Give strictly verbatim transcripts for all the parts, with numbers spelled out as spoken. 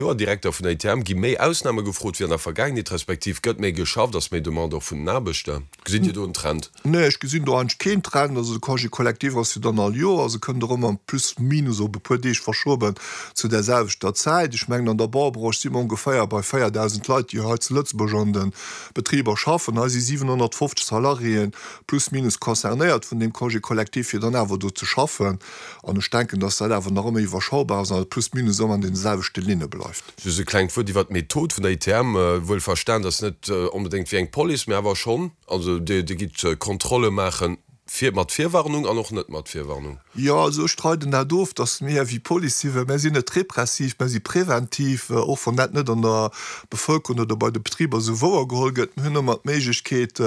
Joer Direkter vun der I T M. Gi méi Ausname gefrot wéi an der Vergaangenheet, respektiv gëtt méi geschafft, ass méi Demande och vun den Aarbechter? Gesitt Dir do en Trend? Nee, ech gesinn do eigentlech keen Trend. Also de Congé collectif ass jo dann all Joer, also kënnt och ëmmer plus minus op e puer Deeg verschoben zu där selwechter Zäit. Ech mengen, an der Baubranche si mer ongeféier bei véierdausend Leit, déi hei zu Lëtzebuerg an de Betriber schaffen. Hei si siwenhonnertfofzeg Salariéen plus minus concernéiert vun deem Congé collectif, fir dann awer do ze schaffen. An ech denken, dass dat awer nach ëmmer iwwerschaubar ass an plus minus ëmmer an deene selwechte Linne bleift. Just e klengt Wuert iwwert d'Method vun der I T M. Wuel verstan, dass net onbedéngt wéi eng Police, mä awer schonn, also Dir gitt Kontrolle maachen, fir mat Virwarnung an och net mat Virwarnung. Jo, also ech streiden dat of, dass mir wéi Police sinn, well mir sinn net repressiv, mir si preventiv, och wann dat net an der Bevëlkerung oder bei de Betriber esou wouergeholl gëtt. Mir hunn ëmmer d'Méiglechkeet,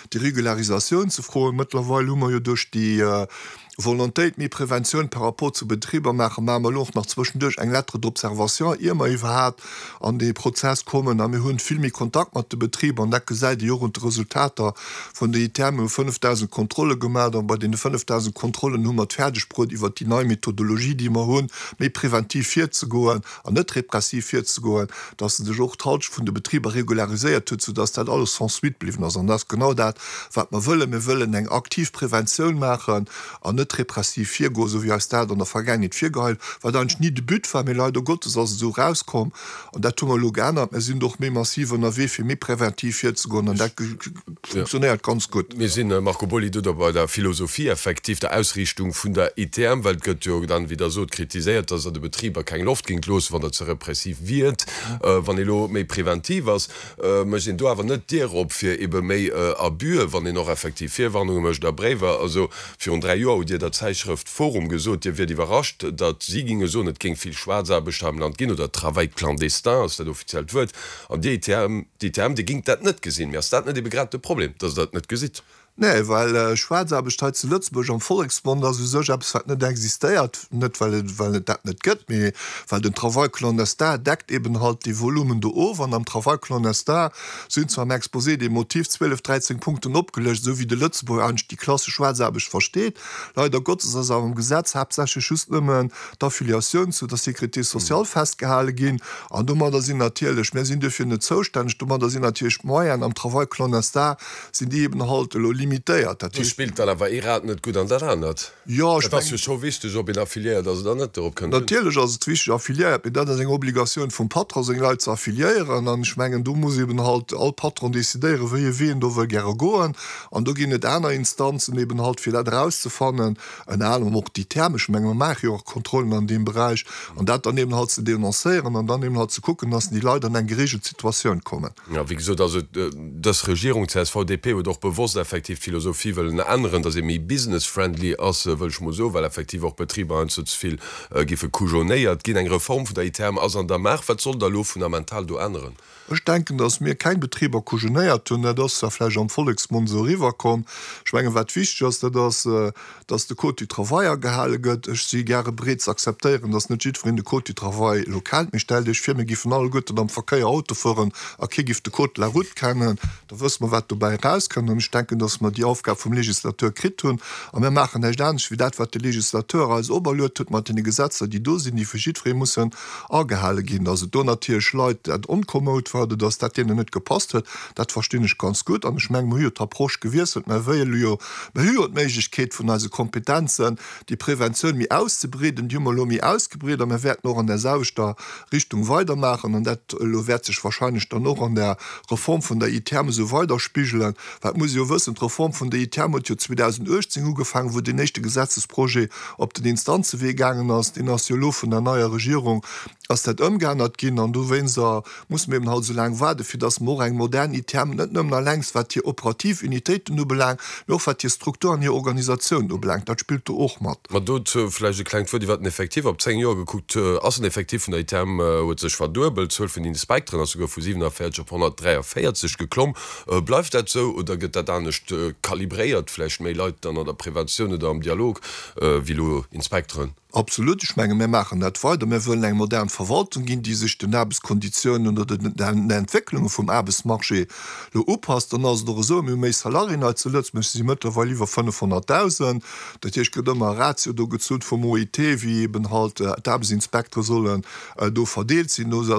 déi Regularisatioun ze froen. Mëttlerweil hu mer jo duerch déi Volontéit, méi Preventioun par rapport zu Betriber maachen, maache mer elo och nach zwëschenduerch eng Lettre d'observation, ier mer iwwerhaapt an dee Prozess kommen. A mir hunn vill méi Kontakt mat de Betriber an dat gesäit ee jo och un de Resultater vun der I T M. Mir hu fënnefdausend Kontrolle gemaach an bei deene fënnefdausend Kontrollen hu mer et fäerdeg bruet, iwwert déi nei Methodologie, déi mer hunn, méi preventiv virzegoen an net repressiv virzegoen, dass se sech och d'Halschent vun de Betriber regulariséiert huet, soudass dat alles sans suite bliwwen ass. An dat ass genau dat, wat mer wëllen. Mir wëllen eng aktiv Preventioun maachen an net repressiv virgoen, esou wéi eis dat an der Vergaangenheet virgehäit, wat eigentlech ni de But war, mee leider Gottes ass et esou erauskomm. An dat hu mer elo geännert. Mir sinn do och méi massiv ënnerwee, fir méi preventiv virzegoen, an dat funktionéiert ganz gutt. Mir sinn, Marco Boly, do da bei der Philosophie effektiv, der Ausriichtung vun der I T M, well et gëtt jo dann, wéi Der sot, kritiséiert, dass Der de Betriber keng Loft géingt loossen, wann Der ze repressiv wiert. Wann ee lo méi preventiv ass, mécht een do awer net d'Dier op fir ebe méi Abüen, wann een och effektiv Virwarnunge mécht a Bréiwer. Also virun dräi Joer hutt Dir der Zäitschrëft Forum gesot, Dir wiert iwwerrascht, datt si géinge soen, et géing vill Schwaarzaarbecht hei am Land ginn, oder Travail clandestin ass dat offiziellt Wuert, an déi I T M, d'I T M, déi géing dat net gesinn. Mee ass dat net ebe grad de Problem, datt Der et net gesitt? Nee, well Schwaarzaarbecht hei zu Lëtzebuerg am Volleksmond ass u sech eppes, wat net existéiert. Net well et, well et dat net gëtt, mee well den Travail clandestin deckt eben halt dee Volumen do of. An am Travail clandestin sinn zwar am Exposé des motifs zwielef, dräizéng Punkten opgelëscht, esou wéi de Lëtzebuerger eigentlech déi klassesch Schwaarzaarbecht versteet. Leider Gottes ass awer am Gesetz haaptsächlech just nëmmen d'Affiliatioun zu der Sécurité sociale festgehale ginn. An domadder sinn natierlech, mir sinn duerfir net zoustänneg, domadder sinn natierlech d'Moyenen am Travail clandestin sinn déi eben halt elo limitéiert. Dat Do heescht. Spillt dann awer ee Rad net gutt an dat anert. Jo, ech Et ass jo mengen. Scho wichteg, ob een affiliéiert ass oder net, dorop kënnt et un. Natierlech ass et wichteg, affiliéiert, mee dat ass eng Obligatioun vum Patron, seng Leit ze affiliéieren. An ech mengen, do muss eben halt all Patron decidéieren, wéi e Wee en do wëll gäre goen. An do ginn et aner Instanzen eben halt, fir dat erauszefannen, ënner anerem och déi I T M. Ech menge mer maache jo och Kontrollen an deem Beräich. An dat dann eben halt ze denoncéieren an dann eben halt ze kucken, dass déi Leit an eng geregelt Situatioun kommen. Jo, wéi gesot, also dës Regierung C S V D P huet och bewosst effektiv d'Philosophie wëllen änneren, datt ee méi business-friendly ass, wëll ech mol soen, well effektiv och Betriber heiansdo ze vill giffe kujonéiert ginn. Eng Reform vun der I T M ass an der Maach. Wat soll da elo fundamental do änneren? Ech denken, datt mir keng Betriber kujonéiert hunn. Dat ass zwar vläicht am Volleksmond esou eriwwerkomm. Ech mengen, wat wichteg ass, dat ass, datt de Code du travail agehale gëtt. Ech si gäre bereet ze akzeptéieren, datt net jiddwereen de Code du travail elo kennt. Mee stellt Iech vir, mir giffen alleguerten am Verkéier Auto fueren a kee giff de Code de la route kennen. Da wësse mer, wat dobäi erauskënnt. An ech denken, datt mer déi Aufgab vum Legislateur kritt hunn. A mir maachen näischt anescht wéi dat, wat de Legislateur eis operluet huet mat deene Gesetzer, déi do sinn, déi vu jiddweree mussen agehale ginn. Datt et do natierlech Leit dat onkomoud war oder datt dat deenen net gepasst huet, dat verstinn ech ganz gutt. An ech mengen, mir hu jo d'Approche gewiesselt. Mir wëlle jo, mir hu jo d'Méiglechkeet vun eise Kompetenzen, déi Preventioun méi auszebreeden. Déi hu mer elo méi ausgebreet a mir wäerten och an där selwechter Richtung weidermaachen. An dat elo wäert sech wahrscheinlech dann och an der Reform vun der I T M esou weiderspigelen. Well et muss ee jo wëssen, d'Reform vun der I T M huet jo zweedausenduechtzéng ugefaangen, wou deen éischte Gesetzesprojet op den Instanzewee gaangen ass. Deen ass jo elo vun der neier Regierung ass dat ëmgeännert ginn an dowéinster musse mir eben halt esou laang waarden, fir dass mer och eng modern I T M, net nëmmen allengs wat hir operativ Unitéiten ubelaangt, mee och wat hir Struktur an hir Organisatioun ubelaangt. Dat spillt do och mat. Ma dozou vläicht e klengt Wuert iwwer den Effectif. Op zéng Joer gekuckt ass den Effectif vun der I T M huet sech verduebelt. D'Zuel vun den Inspekteren ass souguer vu siwenavéierzeg op honnertdräiavéierzeg geklomm. Bleift dat esou oder gëtt dat anescht kalibréiert vläicht méi Leit dann an der Preventioun oder am Dialog wéi elo Inspekteren. Absolut, ech menge mir maachen dat weider. Mir wëllen eng modern Verwaltung ginn, déi sech den Aarbechtskonditiounen oder den Entwécklunge vum Aarbechtsmarché elo upasst. Dann ass et och esou, mir hu méi Salariéen hei zu Lëtzebuerg, si mëttlerweil iwwer fënnefhonnertdausend. Dat heescht, et gëtt ëmmer e Ratio do gezunn vum O I T, wéi eben halt d'Aarbechtsinspektere sollen do verdeelt sinn. Do ass